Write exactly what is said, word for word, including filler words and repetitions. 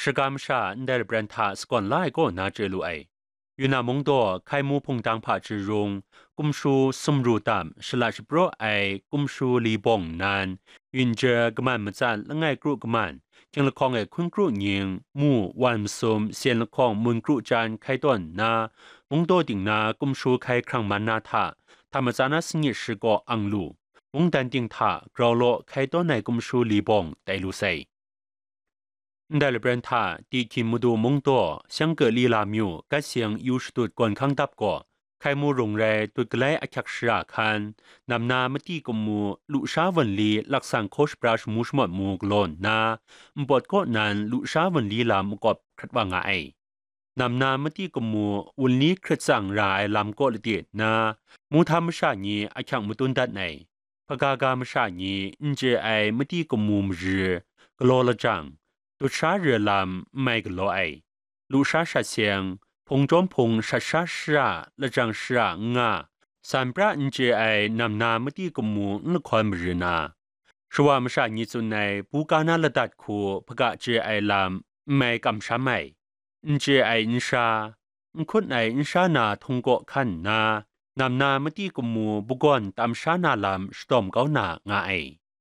Shaga masha ndai lapran hta sagawn la ai kaw na chye lu ai. Yunnan mungdaw Hkaimu hpungtang hpa chye rung, kumshu sumru tam shalat shapraw ai kumshu li bawng nnan, yunje kaman matsat langai kru kaman, hkying lahkawng e hkun kru nying, mu wan masum sen lahkawng mun kru jan hkai tawn nna, mungdaw ting na kumshu hkai hkrang man na hta, hta matsa na sanit shi kaw ang lu, mungdan ting hta grau law hkai tawn ai kumshu li bawng tai lu sai. Ndai lapran hta Dihkin madu mungdaw, Shyangke Lila myu, Gat Seng yu shadut gawn hkang dap gaw, Hkaimu rung rai dut galai ahkyak shara hkan, namna mati kamu, lusha wunli laksan hkaw shapra shamu shamawt mu galaw nna, npawt kaw nan lusha wunli lam makawp hkrat wa nga ai. Namna mati kamu, wunli hkrit tsang ra ai lam kaw lade nna, muhtam masha ni ahkyak matun dat ai. Hpagaga masha ni n chye ai mati kamu maji, galaw lajang, dut sha re lam n mai galaw ai, lusha shat seng, hpung chyawm hpung shat sha shara, lajang shara n nga, san pra n chye ai namna mati kamu n lahkawn mari na, shawa masha ni tsun ai buga na ladat hku hpaga chye ai lam n mai kamsham ai, n chye ai nsha, n hkut ai nsha na htung kaw hkan nna, namna mati kamu bagawn tam sha na lam shadawm kau na nga ai.